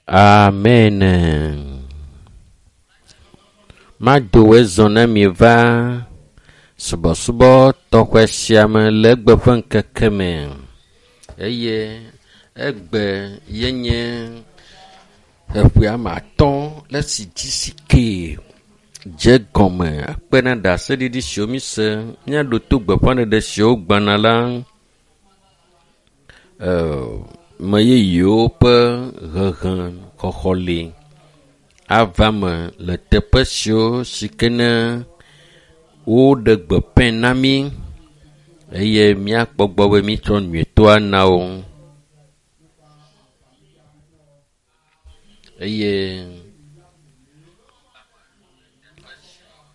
Amen. Mado wòe zɔ ne mi va subɔsubɔ tɔxɛ sia me le egbe ƒe ŋkeke me eye egbe yenye eƒe ame atɔ le esi GCK dze gɔme akpe na ɖaseɖiɖi siwo mi se míaɖo to gbeƒãɖeɖe siwo gbana la me yeyewo ƒe hehe xɔxɔ li ava me le teƒe siwo si ke ne woɖe gbeƒãe na mí eye míakpɔ gbɔ be mítsɔ nyuietɔa na wo. Eye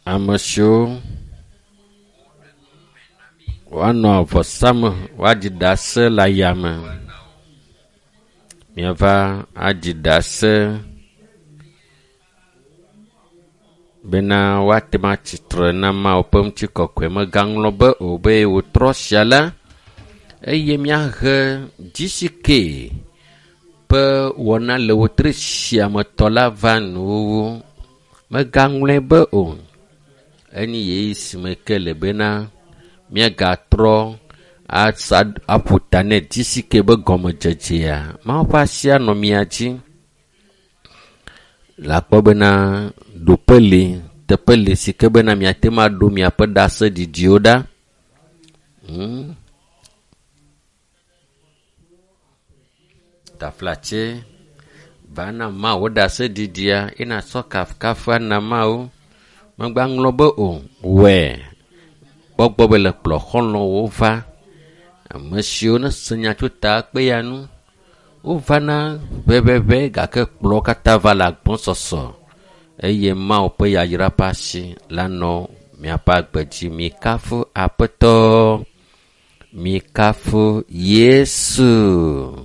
ame siwo woanɔ avɔsame woaɖi ɖase le ayame. Miava aɖi ɖase bena woate ŋu atsitre na Mawu ƒe ŋutikɔkɔe. Mègaŋlɔ be o be wòtrɔ sia la eye míahe GCK ƒe wɔna le wotri sia me tɔ la va nuwuwu. Mègaŋlɔe be o. Enye ɣeyiɣi si me ke le bena míagatrɔ asa aƒo ta nɛ GCK be gɔmedzedzea. Mawu ƒe asi anɔ mia dzi. Le akpɔ bena ɖoƒe li, teƒe li si ke bena miate ŋu aɖo miaƒe ɖaseɖiɖiwo ɖa. Taflatse va na Mawu ɖaseɖiɖia ye natsɔ kafukafua na Mawu. Megba ŋlɔ be o, wɔe. Kpɔ gbɔ be le kplɔ xɔlɔ̃wo va. Ame siwo ne se nya tso ta kpe ya nu. Wovana ʋɛʋɛʋɛ gake kplɔwo katã va le agbɔsɔsɔ eye Mawu ƒe yayra ƒe asi la nɔ miaƒe agbe dzi. Mikafu Aƒetɔ, mikafu Yesu.